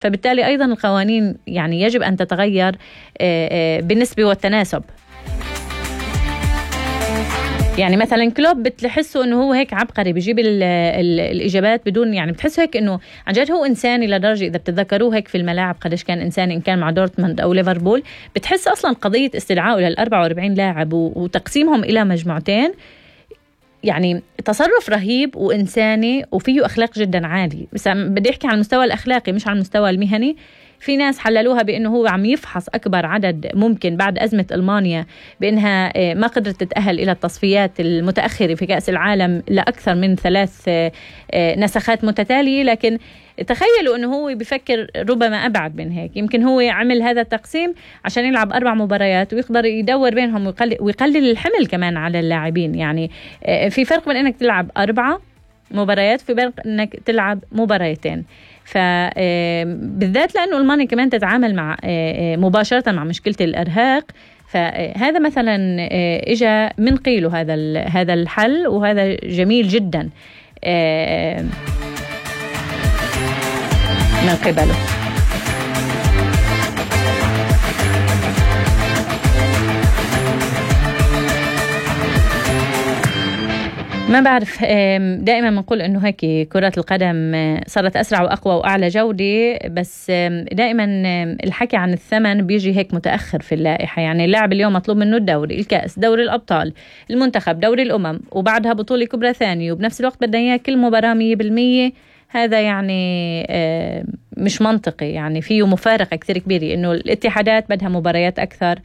فبالتالي أيضا القوانين يعني يجب أن تتغير بالنسبة والتناسب. يعني مثلا كلوب بتحسوا انه هو هيك عبقري بيجيب الاجابات بدون، يعني بتحسوا هيك انه عن جد هو انساني لدرجه اذا بتتذكروه هيك في الملاعب قديش كان انساني، ان كان مع دورتموند او ليفربول. بتحس اصلا قضيه استدعائه لل44 لاعب وتقسيمهم الى مجموعتين يعني تصرف رهيب وإنساني وفيه أخلاق جدا عالي. بس بدي أحكي على المستوى الأخلاقي مش على المستوى المهني. في ناس حللوها بأنه هو عم يفحص أكبر عدد ممكن بعد أزمة ألمانيا، بأنها ما قدرت تتأهل إلى التصفيات المتأخرة في كأس العالم لأكثر من 3 نسخات متتالية. لكن تخيلوا أنه هو بيفكر ربما أبعد من هيك. يمكن هو عمل هذا التقسيم عشان يلعب 4 مباريات ويقدر يدور بينهم ويقلل الحمل كمان على اللاعبين. يعني في فرق بين أنك تلعب 4 مباريات في فرق أنك تلعب 2 مباريات. فبالذات لأنه ألمانيا كمان تتعامل مع مباشرة مع مشكلة الإرهاق. فهذا مثلا إجا من قيله هذا الحل، وهذا جميل جدا من قبله. ما بعرف، دائما بنقول انه هيك كرة القدم صارت اسرع واقوى واعلى جودة، بس دائما الحكي عن الثمن بيجي هيك متاخر في اللائحة. يعني اللاعب اليوم مطلوب منه الدوري، الكأس، دوري الابطال، المنتخب، دوري الامم، وبعدها بطولة كبرى ثانية، وبنفس الوقت بدنا اياه كل مباراة 100%. هذا يعني مش منطقي. يعني فيه مفارقة كثير كبيرة انه الاتحادات بدها مباريات اكثر.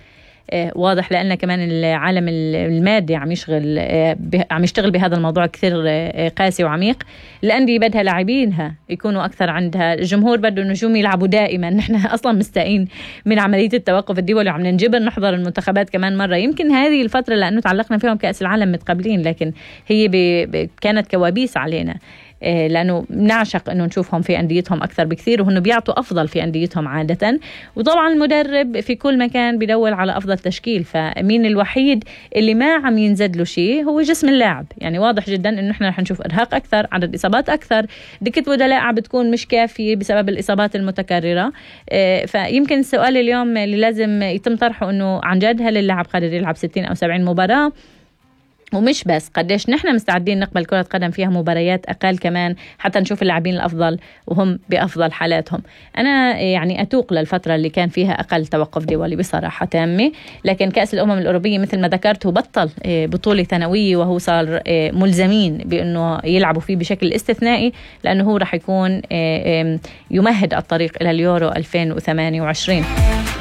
واضح لأن كمان العالم المادي عم يشتغل بهذا الموضوع كثير قاسي وعميق. الأندية بدها لاعبينها يكونوا أكثر عندها، الجمهور بده النجوم يلعبوا دائما. نحن أصلا مستائين من عملية التوقف الدولي وعم ننجبر نحضر المنتخبات كمان مرة. يمكن هذه الفترة لأنه تعلقنا فيهم كأس العالم متقبلين، لكن هي كانت كوابيس علينا لأنه نعشق أنه نشوفهم في أنديتهم أكثر بكثير، وهنو بيعطوا أفضل في أنديتهم عادة. وطبعا المدرب في كل مكان بيدور على أفضل تشكيل. فمين الوحيد اللي ما عم ينزد له شيء هو جسم اللاعب. يعني واضح جدا أنه إحنا رح نشوف إرهاق أكثر، عدد إصابات أكثر، دكة بدلاء عم بتكون مش كافية بسبب الإصابات المتكررة. فيمكن السؤال اليوم اللي لازم يتم طرحه أنه عن جد هل اللاعب قادر يلعب 60 أو 70 مباراة؟ ومش بس قديش نحن مستعدين نقبل كرة قدم فيها مباريات أقل كمان حتى نشوف اللاعبين الأفضل وهم بأفضل حالاتهم. أنا يعني أتوق للفترة اللي كان فيها أقل توقف دولي بصراحة تامة. لكن كأس الأمم الأوروبية مثل ما ذكرت هو بطل بطولة ثانوية، وهو صار ملزمين بأنه يلعبوا فيه بشكل استثنائي، لأنه هو رح يكون يمهد الطريق إلى اليورو 2028.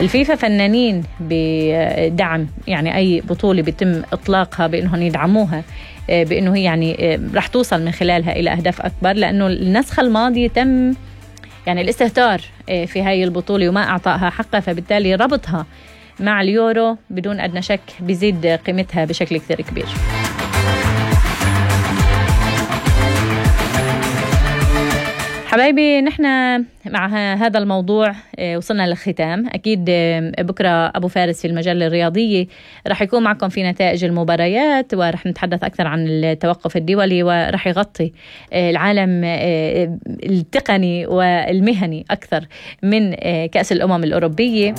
الفيفا فنانين بدعم يعني أي بطولة بيتم إطلاقها بأنهم يدعموها، بأنه هي يعني رح توصل من خلالها إلى أهداف أكبر، لأنه النسخة الماضية تم يعني الاستهتار في هاي البطولة وما أعطاها حقها. فبالتالي ربطها مع اليورو بدون أدنى شك بيزيد قيمتها بشكل كثير كبير. حبايبي، نحن مع هذا الموضوع وصلنا للختام. أكيد بكرة أبو فارس في المجلة الرياضية رح يكون معكم في نتائج المباريات، ورح نتحدث أكثر عن التوقف الدولي، ورح يغطي العالم التقني والمهني أكثر من كأس الأمم الأوروبية.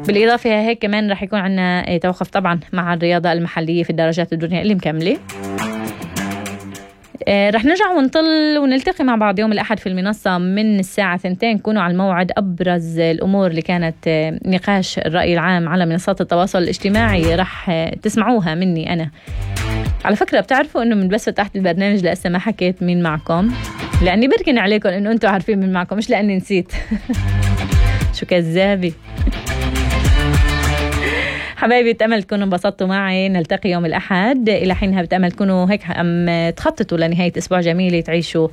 بالإضافة هيك كمان رح يكون عنا توقف طبعا مع الرياضة المحلية في الدرجات الدنيا اللي مكملة. رح نرجع ونطل ونلتقي مع بعض يوم الأحد في المنصة من الساعة 2. كونوا على الموعد. أبرز الأمور اللي كانت نقاش الرأي العام على منصات التواصل الاجتماعي رح تسمعوها مني أنا. على فكرة بتعرفوا أنه من بس فتحت البرنامج لأسا ما حكيت مين معكم، لأني بركن عليكم أنه أنتوا عارفين مين معكم، مش لأني نسيت. شو كذابي. حبايبي، بتأمل تكونوا انبسطتوا معي. نلتقي يوم الأحد. إلى حينها بتأمل تكونوا هيك تخططوا لنهاية أسبوع جميلة، تعيشوا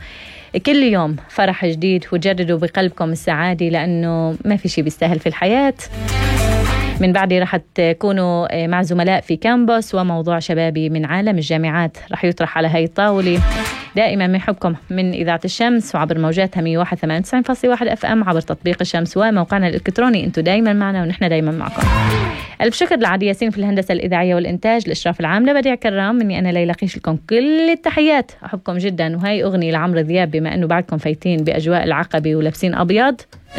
كل يوم فرح جديد وتجددوا بقلبكم السعادة، لأنه ما في شيء بيستاهل في الحياة. من بعدي رح تكونوا مع زملاء في كامبوس، وموضوع شبابي من عالم الجامعات رح يطرح على هاي الطاولة. دائما بنحبكم من إذاعة الشمس وعبر موجاتها 101.9.1 FM عبر تطبيق الشمس وموقعنا الإلكتروني. انتوا دائما معنا ونحن دائما معكم. ألف شكر لعدي ياسين في الهندسة الإذاعية والإنتاج، الإشراف العام لبديع كرام. مني أنا ليلى قيش لكم كل التحيات، أحبكم جدا. وهي أغنية لعمرو دياب بما أنه بعدكم فايتين بأجواء العقبة ولابسين أبيض.